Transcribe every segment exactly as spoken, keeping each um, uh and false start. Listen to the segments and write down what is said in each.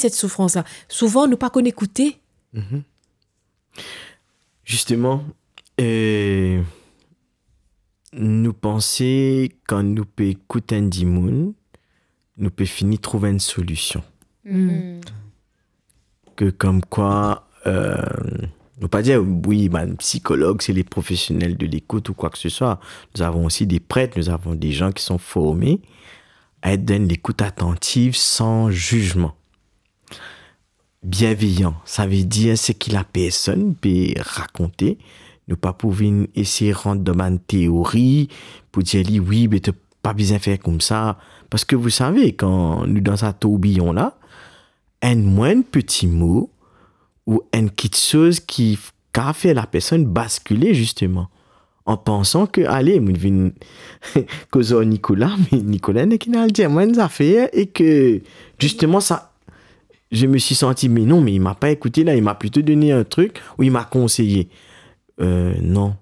set soufrans la. Souvan, nou pa konn ekoute. Mhm. Zisteman, eh, nou panse kan nou pe ekout enn dimoun, nou pe fini trouv enn solision. Mm. Ke komkwa, eh, nou pa dir, wi, bann psikolog, c'est les professionnels de l'écoute ou quoi que ce soit. Nous avons aussi des prêtres, nous avons des gens qui sont formés à être dans l'écoute attentive, sans jugement. Bienveillant, savedir seki lapersonn pe rakonte. Nou pa pou vinn esey rant dan bann teori pou dir li, "Wi, be to pa bizin fer koumsa." Parski, vous savez, kan nou dan sa tourbiyon la, enn mwin peti mo ou enn kiksoz ki f-, kapav fer lapersonn baskile, zisteman, an pansan ke, ale, mo vinn koz ar Nicolas, me Nicolas ena ki al dir mwa enn zafer e ke, zisteman, sa, je me suis senti, mais non, mais il m'a pas écouté là, il m'a plutôt donné un truc ou il m'a conseillé. Euh, non.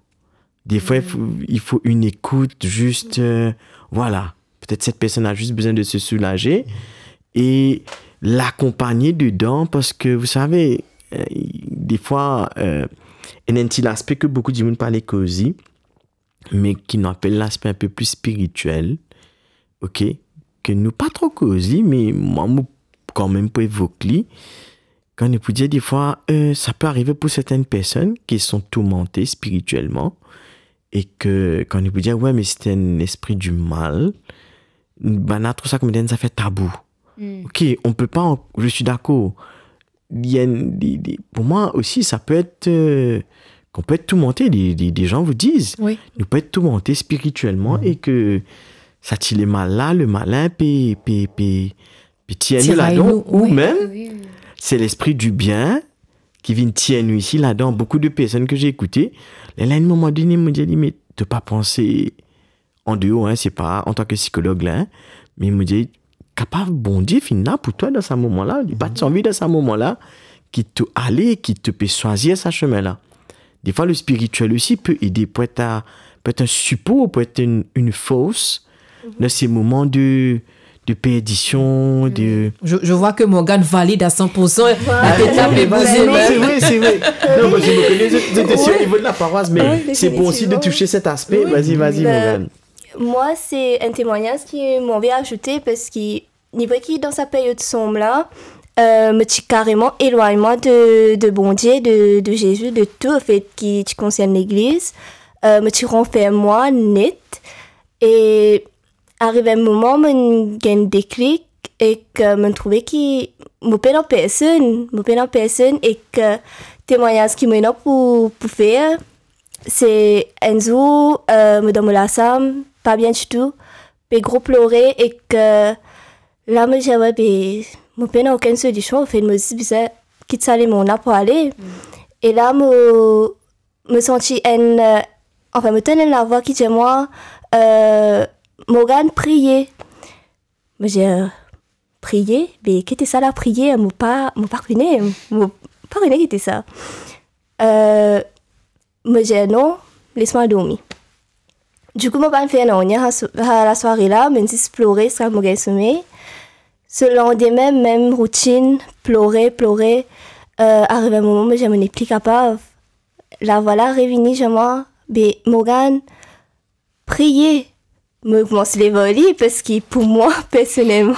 Des fois, il faut, il faut une écoute juste, euh, voilà. Peut-être cette personne a juste besoin de se soulager et l'accompagner dedans parce que, vous savez, euh, des fois, euh, il y a un petit aspect que beaucoup de monde parle causer, mais qui nous appelle l'aspect un peu plus spirituel, ok, ke nou pa tro koz li, me mwa, mo kanmem pou evok li. Kan nou pou dir, defwa, euh, sa pe arive pou sertenn personn ki sont tourmantées spirituellement, e ke kan nou pou dir, "Ouais, mais c'est un esprit du mal", bann la trouv sa kouma enn zafer tabou. Mm. Ok, on peut pas en-, je suis d'accord. Il y a une, des, des, pour moi aussi, ça peut être, euh, qu'on peut être tourmenté. Des, des, des gens vous disent, oui, nou pe tourmenter spirituellement, mhm, e ke sa ti lemal la, le malin pe, pe, pe, pe tir nou ladan, ou mem, c'est l'esprit du bien ki vinn tir nou isi ladan. Beaucoup de personnes que j'ai écoutées, la, la, à un moment donné, mo dir li, "Mais to pa panse an deor, hein, se pa antan ki psikolog la, hein, me mo dir, kapav Bondie finn la pou twa dan sa moman la, li pa ti anvi dan sa moman la, ki to ale, ki to pe swazir sa semin la." Defwa, le spirituel aussi peut aider, peut être, peut être un support, peut être une, une force dans ces moments de, de perdition, de... Je, je vois que Morgane valide à cent pour cent. Voilà. La tête là, mais bougez, non, mais c'est vrai, c'est vrai. Non, parce que vous connaissez, vous êtes sur le niveau de la paroisse, mais c'est bon aussi de toucher cet aspect. Oui, effectivement. Vas-y, vas-y, Morgane. Mwa, se enn temwagnaz ki mo anvi azoute, parski ni vre ki dan sa period sonm la, euh, mo ti kareman elwagn mwa de, de Bondie, de, de Zezi, de tou, anfet, ki ti konsern legliz. Euh, mo ti ranferm mwa net. E ariv enn moman, mo gagn deklik ek, euh, mo trouve ki mo pena personn, mo pena personn ek, euh, temwagnaz ki mo ena pou, pou fer, se enn zour, euh, mo dan mo lasam, pa bien ditou, pe gro plore ek, euh, la mo dir, "Ouais, be, mo pena okenn solision, anfet, mo zis bizin kit sa lemonn la pou ale." Mm. E la mo, mo santi enn, euh, anfin, mo tann enn lavwa ki dir mwa, euh, "Morgane, priye." Mo dir, "Priye? Be, ki ti sa la, priye? Mo pa, mo pa kone, mo pa kone ki ti sa." Euh, mo dir, "Non, les mwa dormi." Dikou, mo pa fer nanye, ha, so-, ha, lasware la, mo zis plore ziska mo gagn somey. So landime, mem routinn, plore, plore. Euh, ariv enn moman, mo dir, "Mo nepli kapav." Lavwa la revini, dir mwa, "Be, Morgane, priye." Mo koumans lev ar li, parski pou mwa, personelman,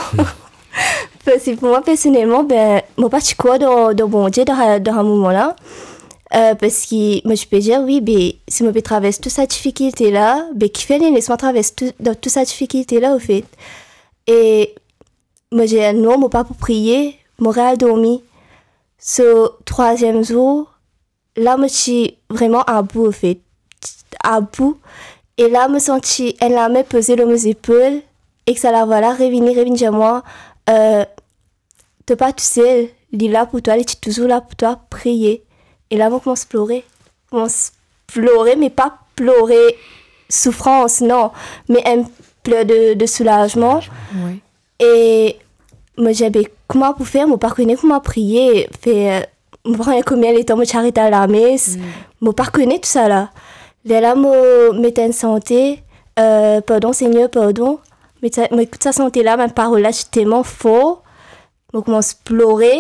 parski pou mwa, personelman, be, mo pa ti krwar dan, dan Bondie dan, dan sa moman la. Euh, parski mo ti pe dir, "Wi, be, si mo pe travers tou sa difikilte la, be, kifer li les mwa travers tou, dan tou sa difikilte la, anfet?" E mo dir, "Non, mo pa pou priye, mo al dormi." So, trwaziem zour, la mo ti vreman abou, anfet. Abou. E la mo santi enn lame poze lor mo zepol, ek sa lavwa la revini, revini dir mwa, euh, "To pa tousel, li la pou twa, li ti touzour la pou twa, priye." E la mo koumans plore. Koumans plore, me pa plore soufrans, non. Me enn pleur de, de soulazman. Wi. E mo dir, "Be, kouma pou fer? Mo pa kone kouma priye." Fer, mo pa kone konbien letan mo ti aret al lames. Mm. Mo pa kone tou sa la. Lerla mo met enn sante, euh, "Pardon, Seigneur, pardon." Mo met sa, mo ekout sa sante la, bann parol la ti telman for. Mo koumans plore.